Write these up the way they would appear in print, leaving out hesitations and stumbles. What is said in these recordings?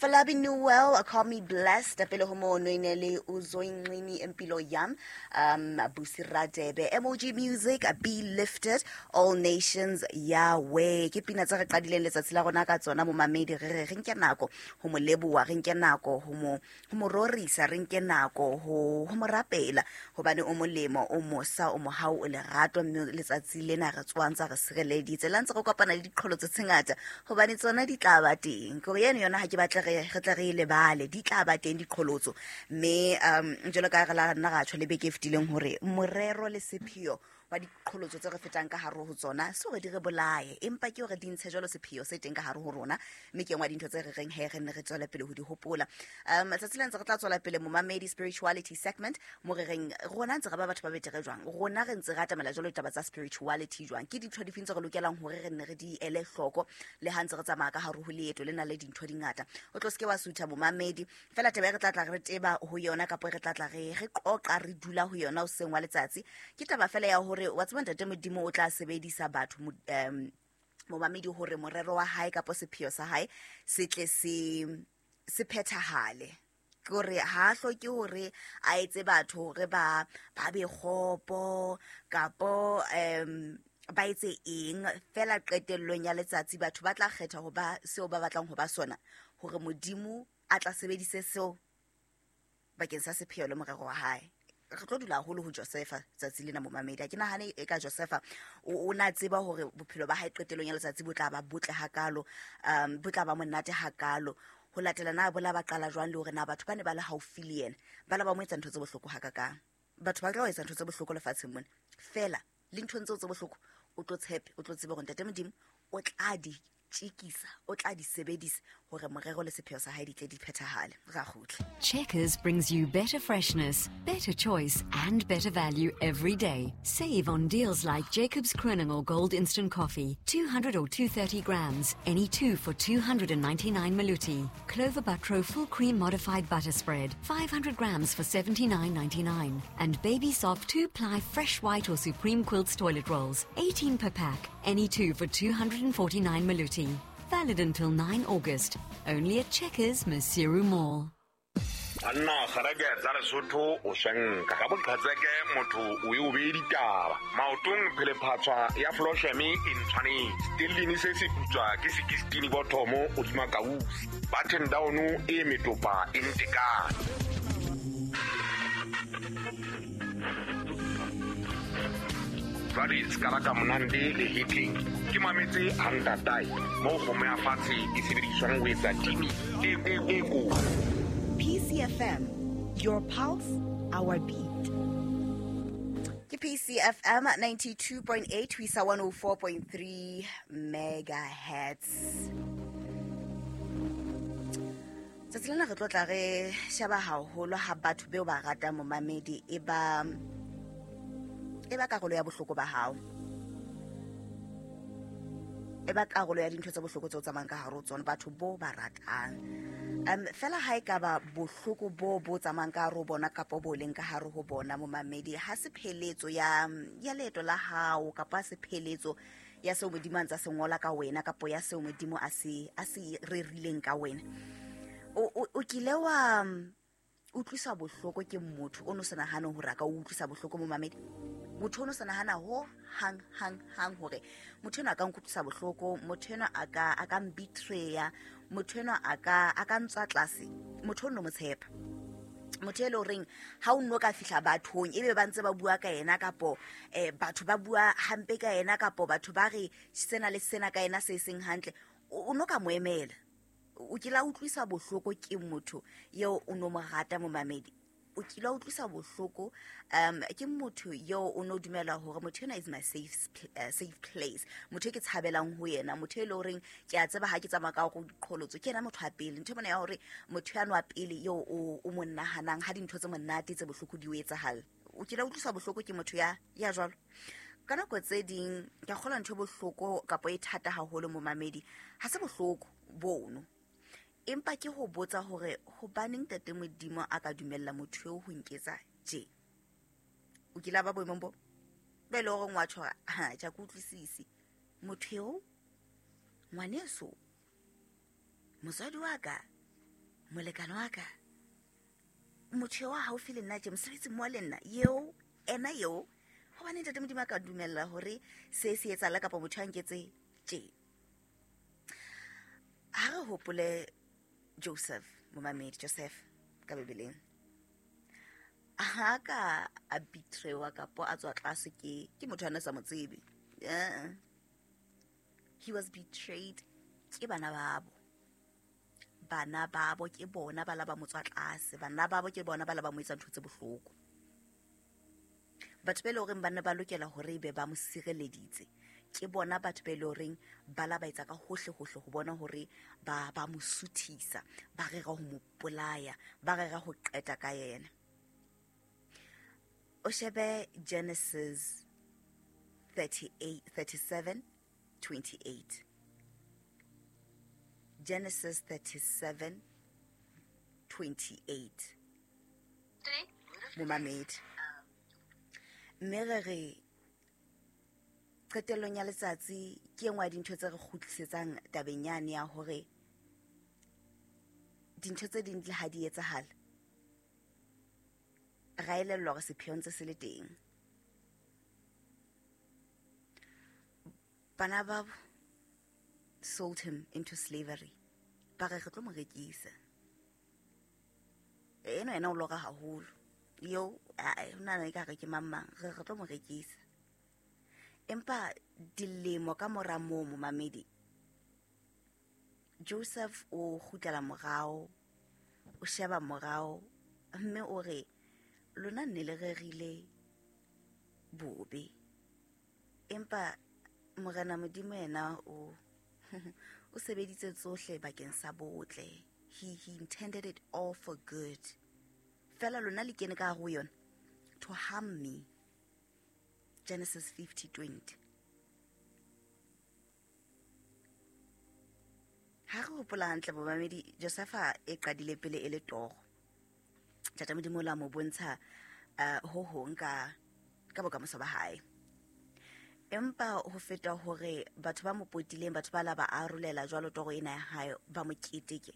Falabi Newell, Call Me Blessed, pele ho mono e ne le Uzoyinqini Impilo Yam, Busi Radebe, MOG Music, Be Lifted, All Nations, Yahweh. Ke pina tse re qadileng letsatsi la rona ka tsona momamedi, re re re nke nako ho mo leboha, re nke nako ho mo ho mo rorisa, re nke nako ho ho mo rapela, hobane o molemo, o mosa, o mohau, o lerato, mme letsatsi lena re tsoang tsa re sireleditse. La ntse re kopana le diqholotso tse ngata, hobane tsona di tla ba teng. Ke hore eno yona ha ke batle re re tle re e lebale, di tla ba teng diqholotso. Mme jwalo ka re la nna ra tjho le beke e fetileng hore morero le sepheo wa diqholotso tse re fetang ka hare ho tsona se hore di re bolaye, empa ke hore di ntshe jwalo sepheo se teng ka hare ho rona, mme ke engwe ya dintho tse re reng he re nne re tswele pele ho di hopola. Tsatsi le ntse re tla tswela pele momamedi spirituality segment, mo re reng rona ntse re ba batho ba betere jwang, rona re ntse re atamela jwalo ditaba tsa spirituality jwang, ke dintho difeng tse re lokelang hore re nne re di ele hloko le ha ntse re tsamaya ka hare ho leeto le na le dintho di ngata. O tlo seke wa sutha momamedi, fela taba e re tla tla re teba ho yona kapa re tla tla re re qoqa re dula ho yona hoseng wa letsatsi, ke taba fela ya hore wa tseba ntate Modimo o tla sebedisa batho momamedi hore morero wa hae kapa sepheo sa hae se tle se se phethahale. Ke hore ha a hloke hore a etse batho hore ba ba be kgopo kapo ba etse eng, fela qetellong ya letsatsi batho ba tla kgetha ho ba seo ba batlang ho ba sona, hore Modimo a tla sebedise seo bakeng sa sepheo le morero wa hae. Re tlo dula haholo ho Josefa tsatsi lena momamedi. Ha ke nahane e ka Josefa o na tseba hore bophelo ba hae qetellong ya letsatsi bo tla ba botle hakalo, bo tla ba monate hakalo, ho latela na bola ba qala jwang le hore na batho ba ne ba le haufi le yena ba la ba mo etsa ntho tse bohloko hakakang. Batho ba tla etsa ntho tse bohloko lefatsheng mona, fela le nthong tseo tse bohloko o tlo tshepe, o tlo tsebe hore ntate Modimo o tla di tjekisa, o tla di sebedisa hore morero le sepheo sa hae di tle di phethahale. Ra kgutla. Checkers brings you better freshness, better choice and better value every day. Save on deals like Jacobs Kroning or Gold Instant Coffee, 200 or 230 grams, any two for 299 Maluti. Clover Butro Full Cream Modified Butter Spread, 500 grams for 79.99. And Baby Soft 2-ply Fresh White or Supreme Quilts Toilet Rolls, 18 per pack, any two for 249 Maluti. Valid until 9 August. Only at Checkers, Maseru Mall. Banna kgareke tsa Lesotho o swenka ka boqhetseke motho o e o beye ditaba maotong phelephatswa ya flosheme e ntshwanetse stellini se se putswa ke sekistini bothomo hodima kausi button down e metopa e ntekane. Jwale se ka la ka monande le hetleng ke mametse hantatae moo kgomo ya fatshe e sebediswang ho etsa timi e e kotsi. PCFM, your pulse, our beat. Ke PCFM 92.8 ho isa 104.3 megahertz. Tsatsi lena re tlo tla re sheba haholo ha batho beo ba ratang momamedi e ba karolo ya bohloko ba hao, e ba karolo ya dintho tse bohloko tseo tsamayang ka hare ho tsona, batho bo ba ratang. Fela ha e ka ba bohloko bo bo tsamayang ka hare ho bona kapa bo leng ka hare ho bona momamedi, ha se pheletso ya leeto la hao kapa ha se pheletso ya seo Modimo a ntsa se ngola ka wena kapa ya seo Modimo a se rerileng ka wena. O kile wa utlwiswa bohloko ke motho o no sa nahane hore a ka o utlwisa bohloko momamedi? Motho o no sa nahana ho hang hang hang hore motho enwa a ka nkutlwisa bohloko, motho enwa a ka mbetraya, motho enwa a ka ntswa tlase, motho o no mo tshepa. Motho e le horeng ha o nno ka fihla bathong ebe ba ntse ba bua ka yena kapo batho ba bua hampe ka yena kapo batho ba re sena le sena ka yena se seng hantle, o no ka mo emela. O kile a utlwisa bohloko ke motho eo o no mo rata momamedi? O kile a utlwisa bohloko ke motho eo o no dumela hore motho enwa is my safe place, motho e ke tshabelang ho yena, motho e le horeng ke a tseba ha ke tsamaya ka hore diqholotso ke yena motho wa pele. Ntho mona ya hore motho ya nwa pele eo o mo nahanang ha dintho tse monate tse bohloko di o etsahalla. O kile a utlwisa bohloko ke motho ya jwalo? Ka nako tse ding ke kgolwa ntho e bohloko kapa e thata haholo momamedi, ha se bohloko bono, empa ke ho botsa hore hobaneng ntate Modimo a ka dumella motho eo ho nketsa tje. O kile a ba boemong bo be le hore ngwa tjho ha tja ke utlwisise motho eo, ngwaneso, motswadi wa ka, Molekane wa ka, motho wa haufi le nna tje, mosebetsi mmoho le nna, eo ena eo, hobane Ntate Modimo a ka dumella hore se se etsahala kapa motho a nketse tje. Ha re hopole Joseph, momamedi, Joseph ka Bibeleng. Ha ka a betrewa kapa a tswa tlase ke motho a na sa mo tsebe. He was betrayed ke bana babo. Bana babo ke bona ba la ba mo tswa tlase, bana babo ke bona ba la ba mo etsa ntho tse bohloko. Batho ba e leng horeng ba ne ba lokela hore ebe ba mo sireleditse, ke bona batho ba e leng horeng ba la ba etsa ka hohle hohle ho bona hore ba mo suthisa, ba rera ho mo bolaya, ba rera ho qeta ka yena. O shebe Genesis 37, 28. Genesis 37, 28. Momamedi. Mme re re qetellong ya letsatsi ke e nngwe ya dintho tse re kgutlisetsang tabeng yane ya hore dintho tse ding le ha di etsahala, ra elellwa hore sepheo ntse se le teng. Bana babo sold him into slavery. Ba re re tlo mo rekisa. Eno yena o lora haholo. Eo, ae, ho nahana ekare ke mang mang, re re tlo mo rekisa. Empa dilemo ka mora moo, momamedi, Joseph o kgutlela morao, o sheba morao, mme o re, lona nne le rerile bobe. Empa Morena Modimo yena o sebeditse tsohle bakeng sa botle. He intended it all for good. Fela lona le kene ka hare ho yona to harm me. Genesis 50:20. Ha re hopola hantle bomamedi, Josefa e qadile pele e le toro. Ntate Modimo o la mo bontsha ho hong ka bokamoso ba hae. Empa ho feta hore batho ba mo potileng, batho ba la ba arolela jwalo toro ena ya hae, ba mo keteke.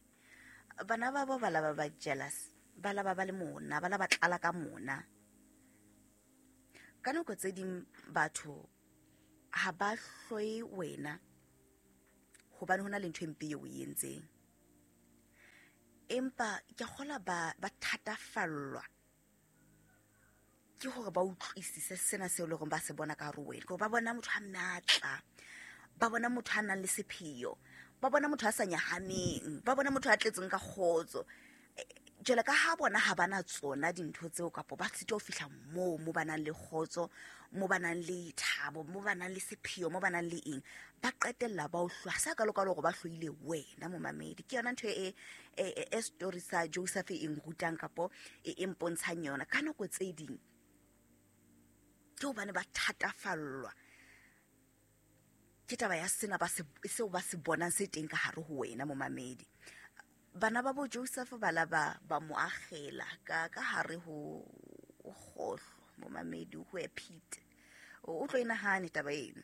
Bana ba bo ba la ba ba jealous, ba la ba ba le mona, ba la ba tlala ka mona. Ka nako tse ding batho ha ba hloye wena hobane hona le ntho e mpe eo o e entseng. Empa ke kgolwa ba thatafallwa ke hore ba utlwisise sena seo e leng hore ba se bona ka hare ho wena. Ke hore ba bona motho a matla, ba bona motho a nang le sepheo, ba bona motho a sa nyahameng, ba bona motho a tletseng ka kgotso. Jwale ka ha bona ha bana tsona dintho tseo, kapa ba sitwa ho fihla moo, mo ba nang le kgotso, mo ba nang le thabo, mo ba nang le sepheo, mo ba nang le eng, ba qetella ba o hloya. Ha se hakalo-kalo hore ba hloile wena momamedi. Ke yona ntho e story sa Joseph e nrutang kapo e mpontshang yona. Ka nako tse ding ke hobane ba thatafallwa ke taba ya sena seo ba se bonang se teng ka hare ho wena momamedi. Bana ba bo Joseph ba la ba mo akgela ka hare ho kgohlo momamedi, ho a pit. O tlo e nahane taba eno.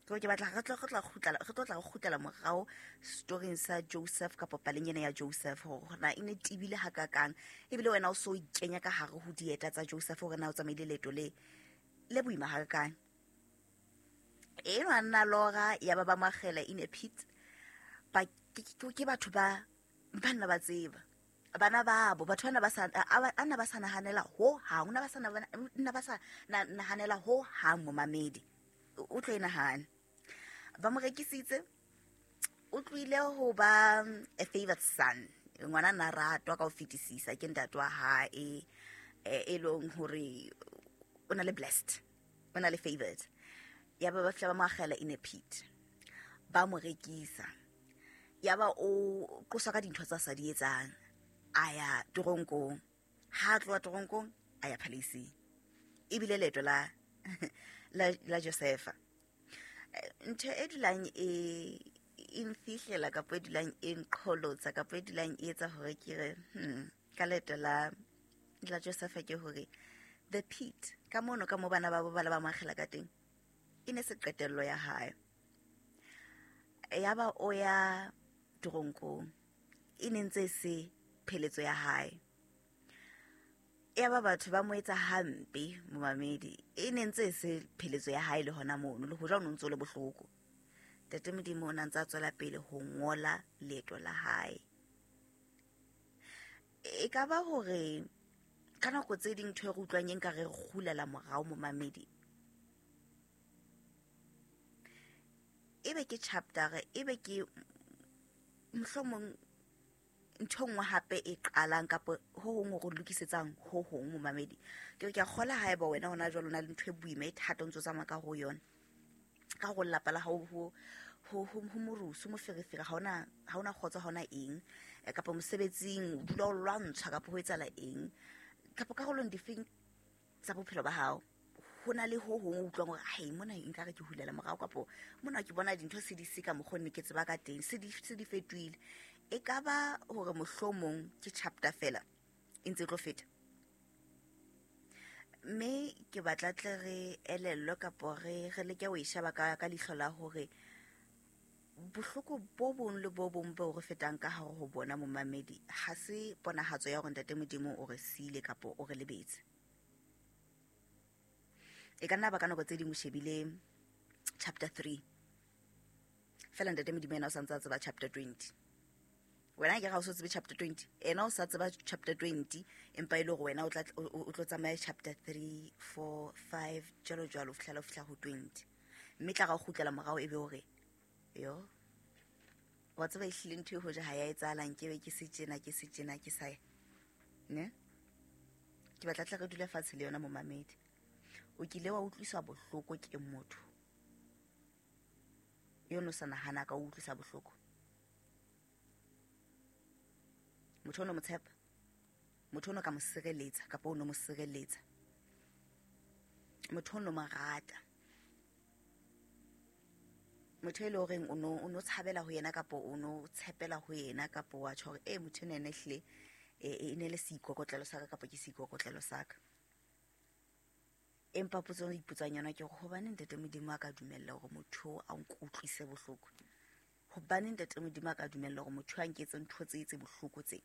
Ke ke batla re tlo re tla kgutlela, re tlo tla re kgutlela morao storyng sa Joseph kapa paleng ena ya Joseph, hore na e ne tebile hakakang, ebile wena o so ikenya ka hare ho dieta tsa Joseph hore na o tsamaile leeto le boima hakakang. Eno a nna lora ya ba ba mo akgela in a pit. Ba ke batho ba ba nna ba tseba. Bana babo, batho bana ba sa, a ba, a nna ba sa nahanela ho hang, nna ba sa nna ba sa nahanela ho hang momamedi. O tlo e nahana. Ba mo rekisitse, o tlohile ho ba a favorite son. Ngwana na ratwa ka ho fetisisa ke ntate wa hae, e leng hore o na le blessed, o na le favored. Ya ba ba fihla ba mo akgela in a pit. Ba mo rekisa. Ya ba o qoswa ka dintho tsa sa di etsang. A ya toronkong. Ha a tloha toronkong, a ya palace. Ebile leeto la Josefa. Ntho e dulang e nfihlela kapa e dulang e nqholotsa kapa e dulang e etsa hore ke re, ka leeto la Josefa ke hore the pit, ka mono ka mo bana ba bo ba le ba mo akgela ka teng, e ne se qetello ya hae. Ya ba o ya toronkong, e ne ntse se pheletso ya hae. Ya ba batho ba mo etsa hampe momamedi, e ne ntse se pheletso ya hae le hona mono, le hoja o no ntso le bohloko. Ntate Modimo o na ntse a tswela pele ho ngola leeto la hae. E ka ba hore ka nako tse ding ntho e re utlwang e nka re kgulela morao momamedi, ebe ke chapter, ebe ke mohlomong ntho nngwe hape e qalang kapa ho hong ho re lokisetsang ho hong momamedi. Ke re ke a kgola haeba wena hona jwale o na le ntho e boima e thata o ntso tsamaya ka ho yona, ka ho lelapa la hao ho morusu, moferefere, ha hona kgotso, ha hona eng, kapa mosebetsing o dula o lwantshwa kapa ho etsahala eng, kapa karolong difeng tsa bophelo ba hao ho na le ho hong o utlwang hore hai mona nkare ke hulela morao, kapa mona ke bona dintho se di se ka mokgwa ne ke tseba ka teng, se di fetohile. E ka ba hore mohlomong ke chapter fela e ntse e tlo feta. Mme ke batla tle re elellwe kapo re leke ho e sheba ka leihlo la hore bohloko bo bong le bo bong bo re fetang ka hare ho bona momamedi ha se ponahatso ya hore Ntate Modimo o re siile kapo o re lebetse. E ka nna ba ka nako tse ding o shebile chapter 3 fela Ntate Modimo yena o sa ntse a tseba chapter 20. Wena ke ga o so tsebe chapter 20, ena o sa tseba chapter 20, empa e le hore wena o tlo tsamaya chapter 3, 4, 5 jwalo jwalo ho fihlela o fihla ho 20. Mme tla ga o kgutlela morao e be hore yo wa tseba ehlile ntho e hoja ha ya etsahalang, ke be ke se tjena, ke se tjena, ke sa ya. Ne? Ke batla tle re dule fatshe le yona momamedi. O kile wa utlwiswa bohloko ke motho yo no sa nahana ka o utlwisa bohloko. Motho o no mo tshepa, motho o no ka mo sireletsa kapa o no mo sireletsa, motho o no mo rata, motho e le horeng o no tshabela ho yena kapa o no tshepela ho yena, kapa wa tjho hore e motho ena ene ehlile e ne le seikokotlelo sa ka kapa ke seikokotlelo sa ka. Empa potso e ipotsang yona ke hore hobaneng Ntate Modimo a ka dumella hore motho a nkutlwise bohloko? Hobaneng Ntate Modimo a ka dumella hore motho a nketse ntho tse tse bohloko tse?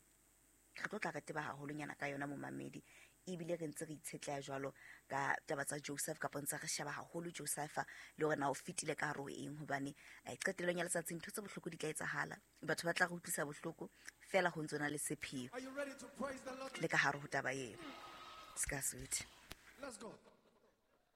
Re tlo tla re teba haholonyana ka yona momamedi, ebile re ntse re itshetleha jwalo ka taba tsa Joseph, kapa ntse re sheba haholo Joseph le hore na o fetile ka hare ho eng, hobane qetellong ya letsatsi ntho tse bohloko di tla etsahala, batho ba tla re utlwisa bohloko fela ho ntso na le sepheo le ka hare ho taba eo. Ska sweet. Let's go.